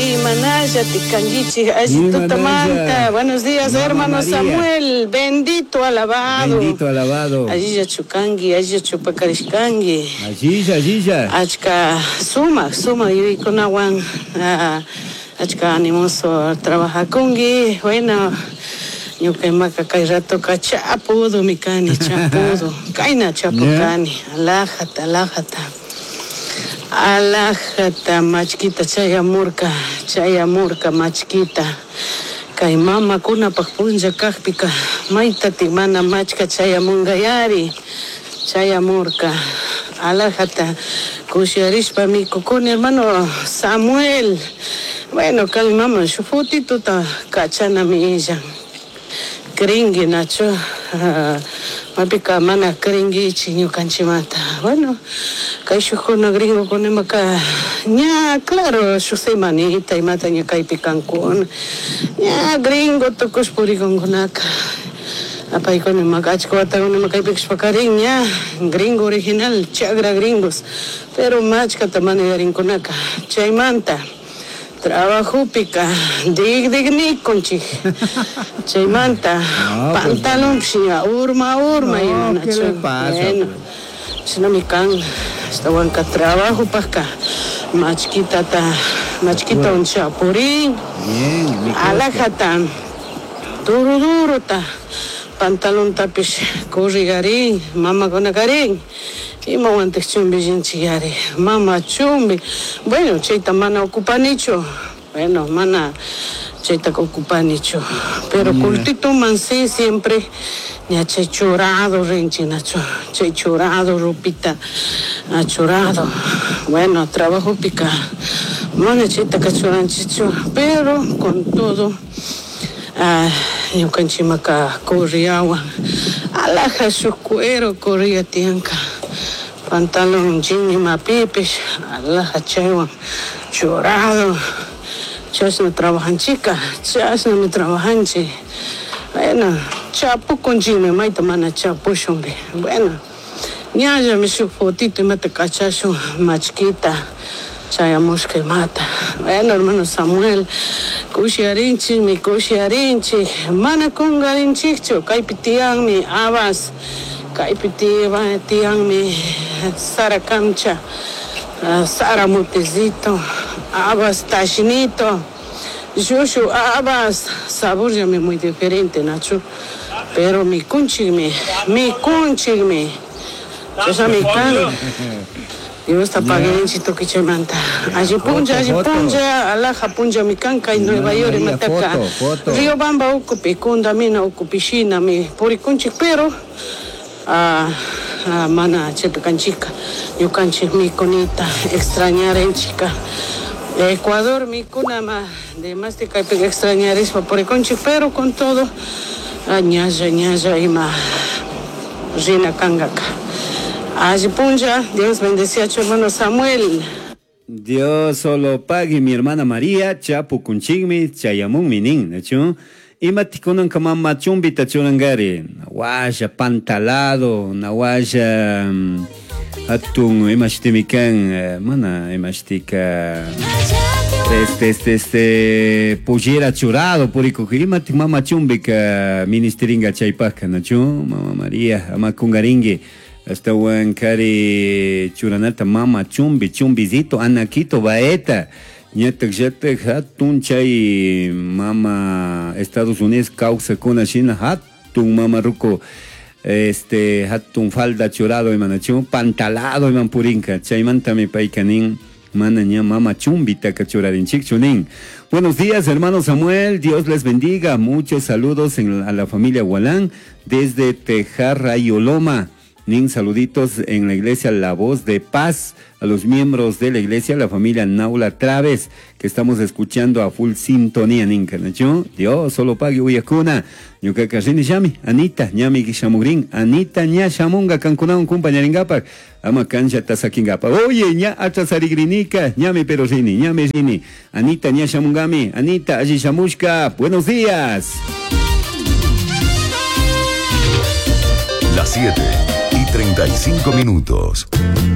Imanalla tikanguichik alli tutamanta. Buenos días, Mama hermano María. Samuel. Bendito, alabado. Bendito, alabado. Allilla chukangi, allilla chupakarishkangi. Allilla, allilla. Achka sumak, sumak yuyaykunawan, achka animoso trabajakungi. Bueno, ñuka imaka kay ratoka chapudomi kani, chapudo. Kayna chapu kani. Alajata, alajata. Alajata machkita chayamurka, chayamurka machkita. Kay mamakunapaq punlla kaqpika maytatik mana machka chayamunkayari. Chayamurka. Alajata kushiarishpa mikukuni, hermano Samuel. Bueno, kay mama shuk fotituta kachanami illan. Cringui, Nacho. Mapika mana cringuichi ñukanchimanta. Bueno, kay shukkuna gringokuna imaka ña, claro, shuk semanita imata ña kaypi kankuna. Ña gringo tukush purikunkunaka. Apaykuna imaka achka watakuna ima kaypi kashpakarin ña gringo original, chagra gringos. Pero machkata mana yarinkunaka. Chaymanta trabajopika digdignikunchik. Chaymanta No, pues, pantalonpish ña urma, urma No, ima, ¿qué Nacho. le pasa, Bueno, pues? shinami kan, ashtawanka trabajopajka machkitata, machkita unchapurin. Bien, mi cosa. Alajata, duro, durota, pantalontapish corrigarin, mamakunakarin. Imawantik chumbillinchik yari, mama chumbi. Bueno, chayta mana ocupanichu. Bueno, mana chayta ocupanichu. Pero kultituman sí siempre ña chay churado rinchik, nacho. Chay churado, ropita, ah, churado. Bueno, trabajopika mana chaytaka churanchikchu, pero con todo, ñukanchimaka corriawan. Alaja shuk cuero corría tiyanka. Pantalón jean imapipish, alaja chaywan churado. Chashna trabajanchika, chashnami trabajanchik. Bueno, chapukunchikmi, mayta mana chapushunpi. Bueno, ñallami shuk fotito imata kachashun machkita chayamushka imata. Bueno, hermano Samuel, kushiarinchikmi, kushiarinchik. Mana kungarinchikchu, kaypi tiyanmi habas, kaypi tiyanmi Sara Kamcha, Sara Mutecito, habas Tashinito, Shushu habas, sabor ya me muy diferente, Nacho. Pero mi kunchikmi, mi kunchikmi. Chasha mi kan. Dios ta paguenchi tukichimanta. Allí punlla, allí Foto, foto. punlla, alaja punlla mi kan kay Nueva María, York mataka. foto, foto. Río Bamba ukupi, Kundamina ukupi, shina mi purikunchik, pero, mana chepikanchika, ñukanchik mikunita, extrañarenchika. Ecuador mikunama, de más de kaypi extrañarispa purikunchik, pero con todo, ñalla, ñalla ima rina kangaka. Allí punlla, Dios bendice a tu hermano Samuel. Dios solo pague mi hermana María, chapu kunchigmi, chayamun minin, ¿no? Ima tikunan kama machumbita churangari, nawasha pantalado, nawasha, atun, ima shtimikan, mana, ima shtika, este, este, este, pollera churado, purico, ima tik mama chumbika, ministeringa chaypaka, ¿no? Mama María, ama kungaringue. Hasta huancari churanata mama chumbi, chumbizito, anaquito, baeta. Ñatak yatak hatun chay mama Estados Unidos causa kuna shina hatun mama ruco, este, hatun falda churado imanachu, pantalado iman purinka. Chaymanta mi paykanin mana ña mama chumbita kachurarinchik chunin. Buenos días, hermano Samuel. Dios les bendiga. Muchos saludos a la familia Gualán desde Tejarra y Oloma. Nin saluditos en la iglesia La Voz de Paz, a los miembros de la iglesia, la familia Naula Traves, que estamos escuchando a full sintonía, nin canacho. Dios solo pague uyakuna. Ñuka rini llami, Anita, ñami shamugrin, Anita ña shamunga kankunawan kumpañaringapak, ama cancha tasakingapa. Oye, ña atrasarigrinica, ñami pero rini, ñami rini. Anita ña shamungami, Anita, allí shamushka. Buenos días. Las 7:35 minutos.